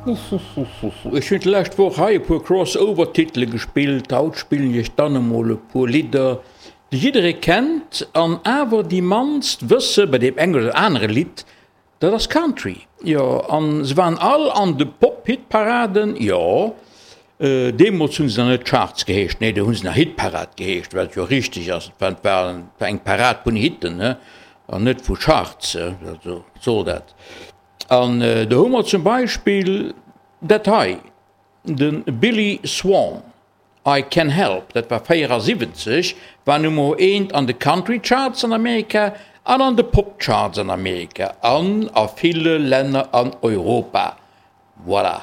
Ech hunn d'lescht Woch hei e puer Crossover-Titele gespillt, haut spillen ech dann emol e puer Lidder, déi jidderee kennt an awer déi mannst wësse bei deem engen oder anere Lidd, dat ass Country. Jo, an se waren all an de Pop-Hitparaden, jo, deemools hu se nach net Charts geheescht, nee, do hu se nach Hitparad geheescht, wat jo richteg ass, et war eng Parad vun Hitten an net vu Charts, also wat soll dat. An do hu mer zum Beispill dat hei, de Billy Swan, I Can Help, dat war 74, war Nummer eent an de Country Charts an Amerika an an de Pop Charts an Amerika an a ville Länner an Europa. Voilà.